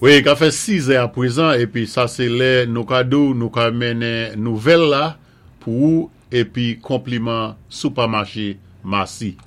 Wi, ka fè 6 è apwezan épi sa sé lè nou ka di-w nou ka mennen nouvèl la pou ou épi konpliman Soupamaché Massy.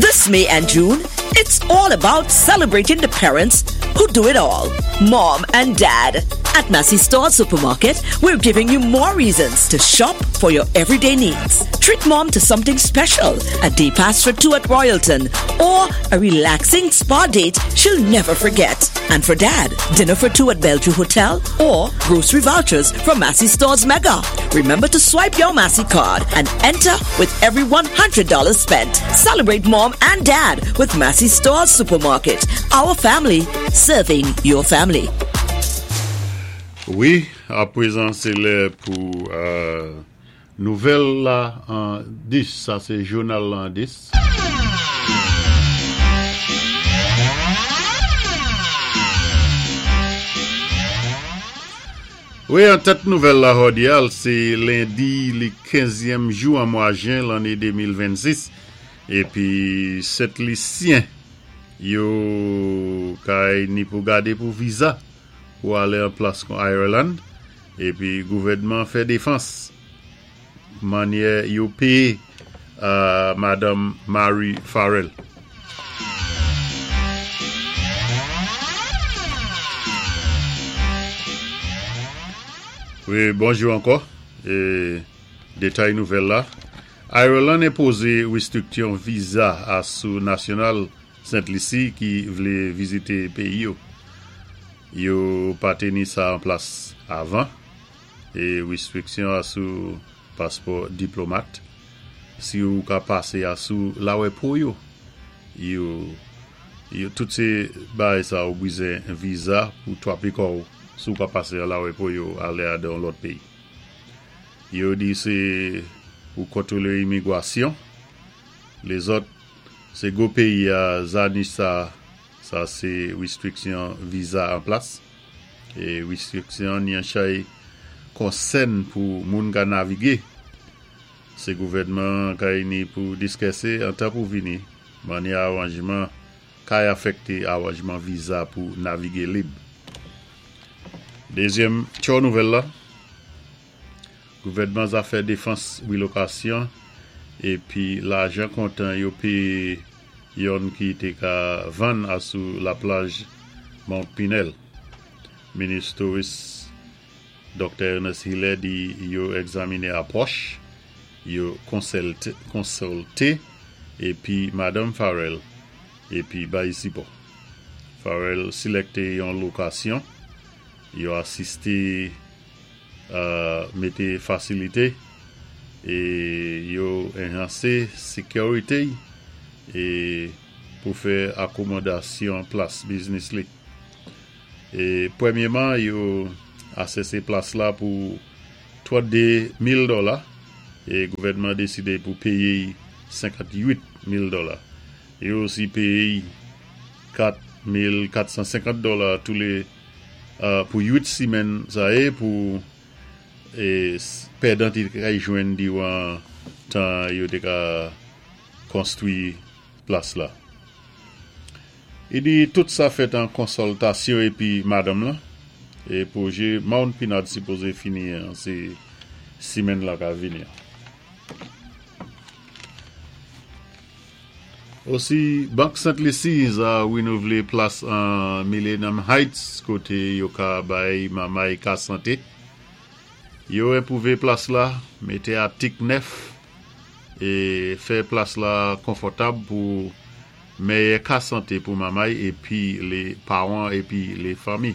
This May and June, it's all about celebrating the parents who do it all mom and dad. At Massy Store Supermarket, we're giving you more reasons to shop for your everyday needs. Treat mom to something special, a day pass for two at Royalton, or a relaxing spa date she'll never forget. And for dad, dinner for two at Bellevue Hotel or grocery vouchers from Massy Stores Mega. Remember to swipe your Massy card and enter with every $100 spent. Celebrate mom and dad with Massy Stores Supermarket. Our family serving your family. Wi, apwezan sé lè pou nouvèl la an 10, sa sé jounal la an 10. Wi, an tèt nouvèl la jòdi a, sé lendi li kenzyèm jou an mwa jen lanné 2026, épi Sentlisyen yo kay ni pou gadé pou viza pou ale an plas kon Ireland epi gouvènman fè defans manyè yo peye Madanm Mary Farrell. Wi, bonjou ankò. E detay nouvèl la, Ireland enpoze restriktyon viza a sou nasyonal Sent Lisi ki vle vizite peyi yo. Yo pa teni sa an plas avan e restriksyon a sou paspò diplomat. Si ou ka pase a sou lawè po yo. Yo yo tout se bagay sa ou bizen viza pou twape kò ou si ou ka pase a lawè po yo ale a dan lòt peyi. Yo di se pou kontwole imigwasyon. Lezòt se gwo peyi a zanich sa sa se restriksyon viza an plas e restriksyon ni an chay konsèn pou moun ka navige se gouvènman kay ni pou diskèse antan pou vini manyè aranjman kay afèkte aranjman viza pou navige lib. Dezyèm tchò nouvèl la. Gouvènman zafè defans rilokasyon epi lajan kontan yo peye yonn ki te ka vann a sou laplaj Mount Pinel. Minis Touris Doktè Ernest Hilaire di yo egzamine apwòch, yo konsilte epi Madanm Farrell epi bay sipò. Farrell silekte yon lokasyon, yo asiste mete fasilite e yo enhanse sekirite e pou fè akomodasyon plas biznis li. E premyeman yo asese plas la pou 32 mil dola e gouvènman deside pou peye 58 mil dola. Yo osi peye 4,450 dola tou le pou 8 simenn sa e pou pèdan te ka jwenn diran tan yo te ka konstwi plas la. Li di tout sa fèt an konsòltasyon epi madanm lan e pwoje Mount Pinard sipoze fini an se simenn la ka vini an. Osi, Bank Sent Lisi za renouvle plas an Millennium Heights kote yo ka bay mamay ka sante. Yo enpwouve plas la, mete atik nèf e fè plas la konfòtab pou mèyè ka sante pou mamay epi le paran epi le fanmi.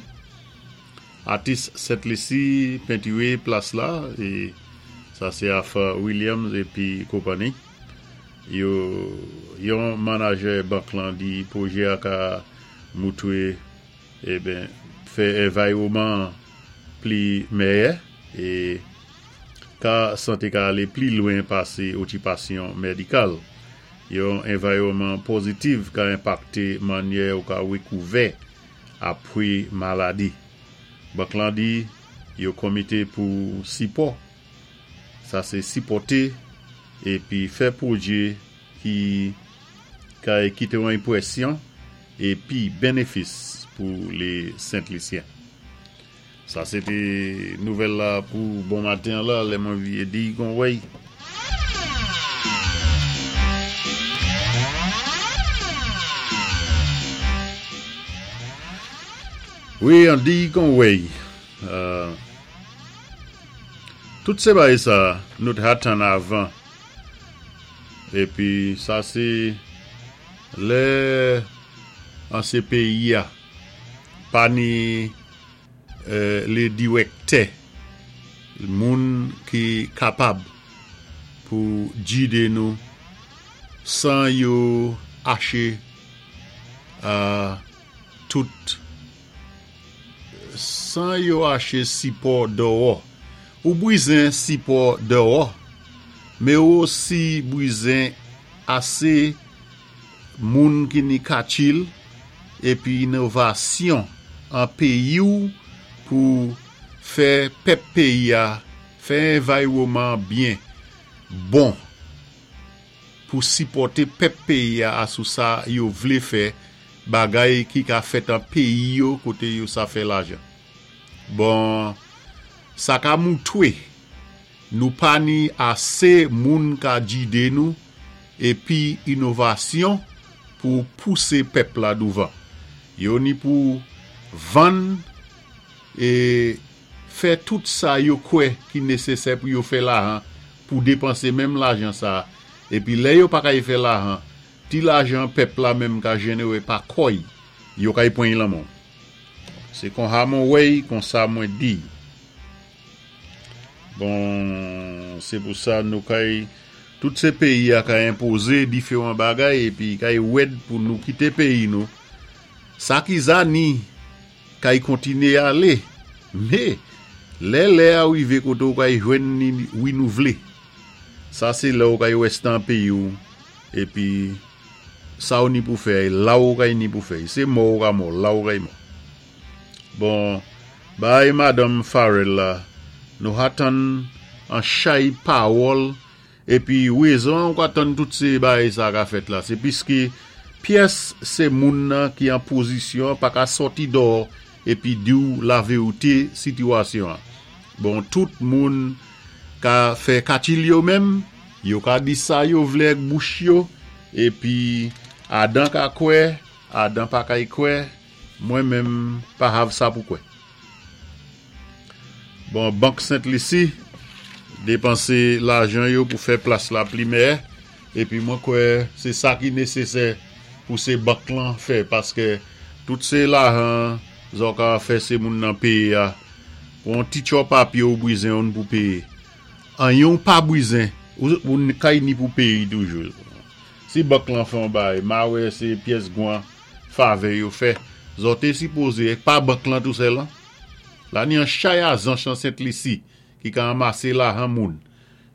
Atis Sent Lisi pentire plas la e sa se Arthur Williams epi konpani. Yo yon manajè bank lan di pwojè a ka moutre eben fè envaywoman an pli mèyè e ka sante ka ale pli lwen pase okipasyon medikal. Yon envaywoman pozitiv ka enpakte manyè ou ka rekouvè apre maladi. Bank lan di yo komite pou sipò Sa se sipòte epi fè pwodui ki ka kite yon enpresyon epi benefis pou lé Sentlisyen. Sa sé té nouvèl la pou bon maten an la lè mwen vyé di kon wèy. Wi an di kon wèy. Tout sé bagay sa nou t ha tann avan. Épi sa sé lè an sé péyi a pa ni lé dirèktè moun ki kapab pou gide nou 100 yo aché tout 100 yo aché sipò dèwò. Ou bwizen sipò dèwò, mé ou osi bwizen asé moun ki ni katchil épi inovasyon an péyi-w pou fè pèp péyi-a, fè envaywoman byen bon pou sipòté pèp péyi-a asou sa yo vlé fè bagay ki ka fèt an péyi yo koté yo sa fè lajan. Bon, sa ka moutwé nou pa ni asé moun ka gide nou épi inovasyon pou pousé pèp la douvan. Yo ni pou vann é fè tout sa yo kwè ki nésésè pou yo fè lajan pou dépansé menm lajan sa épi lè yo pa kay fè lajan ti lajan pèp la menm ka jénéré pa kòy yo kay pwan y lan men w. Sé konha mwen wè y konsa mwen di y. Bon, sé pou sa nou kay tout sé péyi a ka enpozé diféwan bagay épi kay wèd pou nou kité péyi nou. Sa ki zani kay kontinyé alé, mé lè lè a rivé koté ou kay jwenn ni wi nou vlé. Sa sé lè ou kay rèsté an péyi ou épi sa ou ni pou fè é la ou kay ni pou fè y. Sé mò ou ka mò, la ou kay mò. Bon, bagay madanm Farel la, nou ha tann an chay pawòl épi wézon ou ka tann tout sé bagay sa ka fèt la, sé piské pyès sé moun nan ki an pozisyon pa ka sòti dò épi di'w laverité sitiwasyon an. Bon, tout moun ka fè katil yo menm, yo ka di sa yo vlé ak bouch yo, épi Adan ka kwè, Adan pa kay kwè, Mwen menm pa hav sa pou kwè. Bon bank Sent Lisi depanse lajan yo pou fè plas la pli mèyè epi mwen kwè se sa ki nesesè pou se bank lan fè paske tout se lajan zò ka fè se moun nan peye a pou yon ti tchò papye ou bwizen ou n pou peye anyen ou pa bwizen ou kay ni pou peye toujou si bank lan fè yon bagay ma wè se pyès gwan Favè yo fè. Zò té sipoze ek pa bank lan tou sèl an. La ni an chay azanch an Sent Lisi ki ka anmasé lahan moun.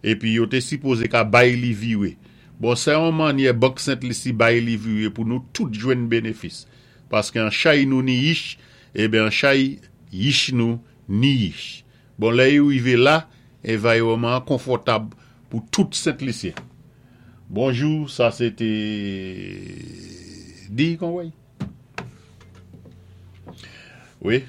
Épi yo té sipoze ka bay li viré. Bon sè on mannyè bank Sent Lisi bay li viré pou nou tout jwenn bénéfis. Paské an chay nou ni yich, eben an chay yich nou ni yich. Bon lè yo rivé la, envaywoman an konfòtab pou tout Sent Lisyen. Bonjou, sa sé té di kon wèy. Wi.